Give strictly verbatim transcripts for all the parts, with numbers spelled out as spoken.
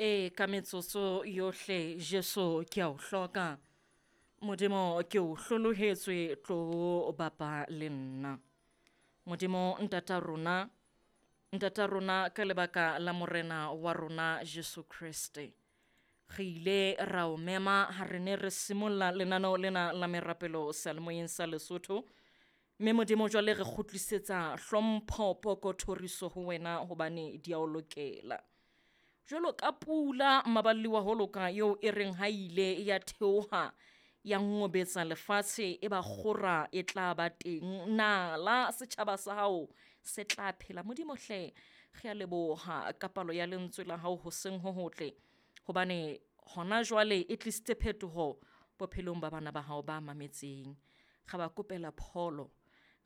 E ka metsotso yohle Jesu ke a o hloka. Modimo ke o hlolohetswe tlo bapa le nna. Modimo ntata rona, ntata rona ka lebaka la morena wa rona Jesu Kreste. Re ile ra o mema ha re ne re simolla lenaneo lena la merapelo seyalemoyeng sa Lesotho. Mme Modimo jwale re kgutlisetsa hlompho poko thoriso ho wena hobane di a o lokela. Jwalo ka pula maballi wa ho loka eo e reng ha ile ya theoha ya ngobetsa lefatshe e ba kgora e tla ba teng. Nala setjhaba sa hao se tla phela. Modimo hle re a leboha ka palo ya lentswe la hao hoseng ho hotle. Hobane hona jwale e tlisitse phetoho bophelong ba bana ba hao ba mametseng. Re ba kopela pholo,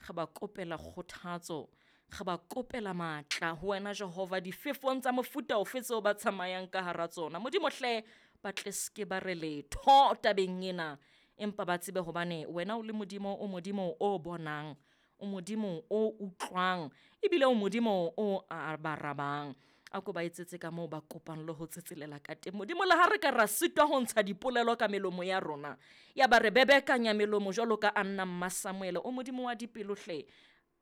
re ba kopela kgothatso, re ba kopela matla ho wena Jehova difefong tsa mofuta ofe tseo ba tsamayang ka hara tsona. Modimo hle ba tle ske ba re letho tabeng ena, empa ba tsebe hobane wena o le Modimo, o Modimo o bonang, o Modimo o utlwang, ebile o Modimo o arabang. A ko ba etsetse ka moo ba kopang le ho tsetselela ka teng. Modimo le ha re ka ra sitwa ho ntsha dipolelo ka melomo ya rona, ya ba re bebekanya melomo jwalo ka Anna mma Samuel, o Modimo wa dipelo hle,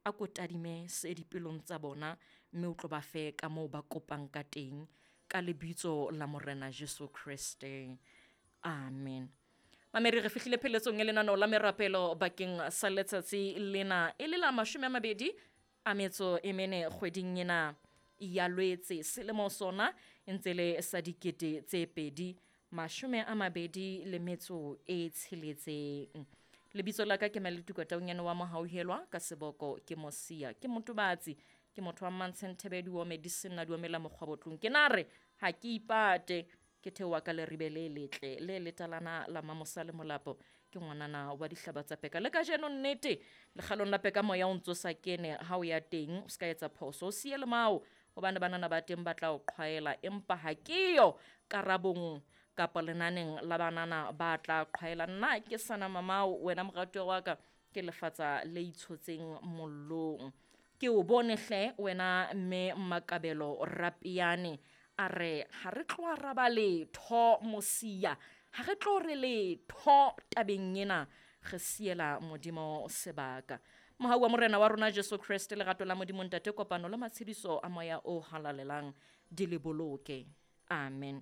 a ko tadime se dipelong tsa bona mme o tlo ba fe ka moo ba kopang ka teng ka lebitso la Morena Jesu Kreste. Amen. Mamedi, re fihlile pheletsong ya lenaneo la merapelo bakeng sa letsatsi lena e le la mashome a mabedi a metso e mene kgweding ena ya Lwetse. Selemo sona e ntse le sa dikete tse pedi mashome a mabedi le metso e tsheletseng. Lebitso la ka ke Maletuka Taunyane wa Mohauhelwa, ka seboko ke Mosia, ke motobatsi, ke motho wa Mmantshen Thebedi wa medicine na duomela mokgwabotlong. Ke na re ha ke ipate, ke theoha ka leribe le letle le letalana la Mamosa le Molapo, ke ngwanana wa dihlaba tsa peka. Le kajeno nnete lekgalong la peka moya o ntso sa kene ha o ya teng, o ska etsa phoso, o siye le mao hobane banana ba teng ba tla o qhwaela, empa ha ke yo karabong kapa lenaneng la banana ba tla qhwaela. Nna ke sana mamao, wena moratuwa wa ka, ke lefatsa le itshotseng mollong. Ke o bone hle wena mme Makabelo Rapiane, a re ha re tlo araba letho Mosia, ha re tlo re letho tabeng ena, re siela Modimo sebaka. Mohau wa Morena wa rona Jesu Kreste, lerato la Modimo Ntate, kopano le matshediso a Moya o Halalelang di le boloke. Amen.